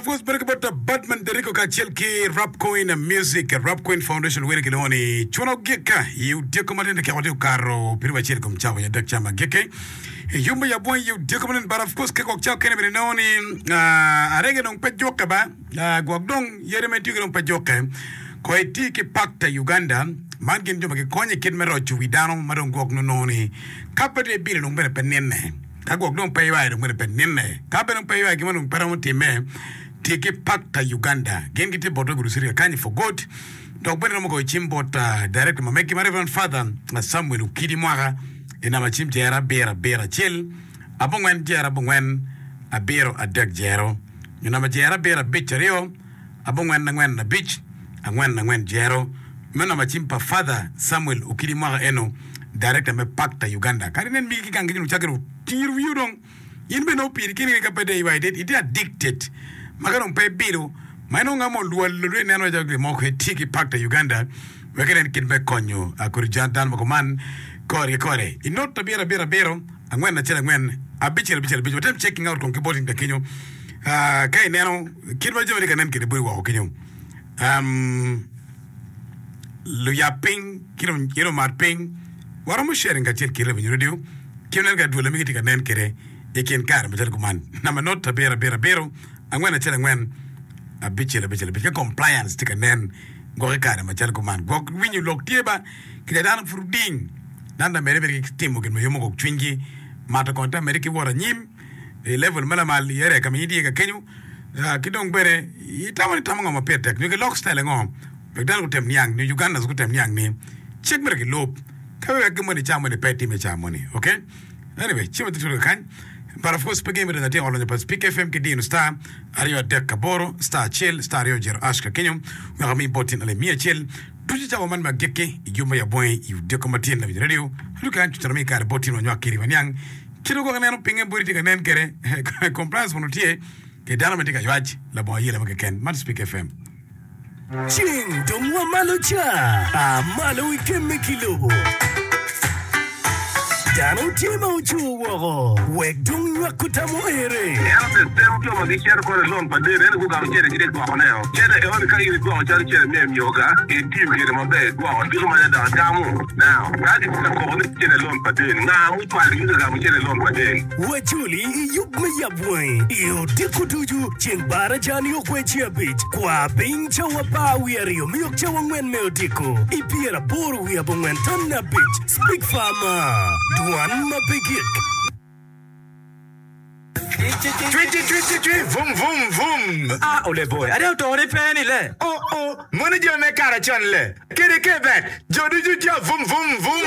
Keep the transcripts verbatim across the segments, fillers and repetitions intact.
of course bedo ki bot Batman Deriko kacel ki Rap Coin Music Rap Coin Foundation were kilwongo ni Cuno Gika i odiko matin dakika tye okato piero acel kom cawa adek ca ma gike yumbo ya bwony i odiko matin but of course ka gwok cawa kene bene inongo ni ah, arege dong pe jukke ba Ah, gwok dong yadi ma itiyo ki dong pe jukke ko iti ki Pakta Uganda man gin jo ma gikonyo i kit me roco wi dano ma dong gwok nongo ni ka pe dong ibilo dong bene pe ninne ka gwok dong pe iywayo dong bene pe ninne ka bene dong pe iywayo gin mo dong pe romo timme tye ki Pakta Uganda gin gitye bot Gulu City kakany for good dok bene romo goyo cim bot uh, director ma megi ma Reverend Father uh, Samuel Okidi Mwaka i namba cim jero abiro abiro acel abongwen jero abongwen abiro adek jero nyo namba jero abiro abic aryo abongwen angwen abic angwen angwen jero meno namba cim pa Father Samuel Okidi Mwaka eno director me Pakta Uganda kadi nen migi ki gang kenyo cakere otir wiyo dong in bene opiri kini ka pe dong iywayo itye addicted ma ka dong pe ibilo ma inongo nga mo olwal olwe ineno calo gin mo tye ki Pakta Uganda wek inen kit me konyo kodi dano ma kuman kore ki kore i not abiro abiro abiro angwen acel angwen abicel abicel abic watem checking out kong ki bot in kenyo Ah, ka ineno kit ma jami tye ka nen kede boti woko kenyo um, luyab piny ki dong ki dong mat piny waromo sharing kacel ki Revenue Radio ki nen ka dwol ma migi tye ka nen kede i kin kare macalo kuman namba not abiro abiro abiro angwen acel angwen abicel abicel abic ka compliance tye ka nen gwok i kare macalo kuman gwok winyo lok tye ba kica dano pud oding dano ta mere bene ki timo gin ma yomo gwok cwinygi mato kongo ta mere ki wot anyim i level ma lamal i area ka ma in itye ka kenyo ah, ki dong bene itamo ni tamo ngo ma pire tek nyo gilok style ango wek dano gutem niang nyo Ugandans gutem niang ni cik myero gilub ka wek gin moni ca moni pe time ca moni okay anyway cim atye tudo kany but of course pe gin bene atye olonyo pa Speak FM ki Dino star aryo adek aboro star acel star aryo jero ash ka kenyo wek ami bot tin alip miya acel ducu cawa man ma agikki i juma ya bwangi i odiko matin la radio aduka an cucaro mi kare bot tin wanywak kiri waniang kit ogwok ineno pinge boti tye ka nen kede compliance mono tye ke dano ma tye ka ywac labongo ayela mo keken man Speak FM Ceng dong wa malo ca, a malo ikemme ki lobo. Dano tye ma ocur woko, wek dong nywako tam oere. Ento the same jo ma gicito kono i loan pa deni ento gugamo cente gitye gwokone o. Cente enoni ka in igwoko calo cente me emyoga itiyo kwede maber igwoko diko maca dok igamo. Now ka gitye ka koko ni cente loan pa deni nga mucwalo gi ka gamo cente loan pa deni? Wacoli i yub me yab wangi i odiko ducu ceng baraja nio kweci abic kwa piny cawa apar wiye aryo miyok cawa angwen me odiko i pyeraboro wiye abongwen ton abic Speak Farmer Dwan ma pe gik. Cwi cwi cwi cwi cwi vum vum vum. Ah, ole boy, ade otore ni pe ni le. Oh oh, mono jo me kare con le. Kede kebet, jo ducu tye vum vum vum.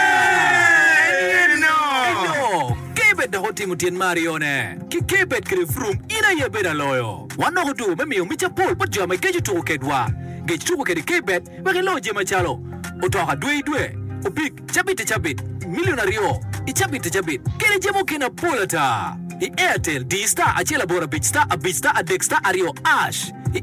Yeah! Eno! Eno, Kebet dok otimo tyen me aryone. Ki Kebet kede Vroom, in aye bedo aloyo. Wan dok odwogo me miyo mic apol bot jo ma igeco tuko kedwa. Gec tuko kede Kebet wek ilo jami macalo otoka dwe i dwe, opik cabit i cabit, milion aryo i cabit i cabit, kede jami mukene apol ata. I Airtel, di star acel aboro abic star abic star adek star aryo ash. I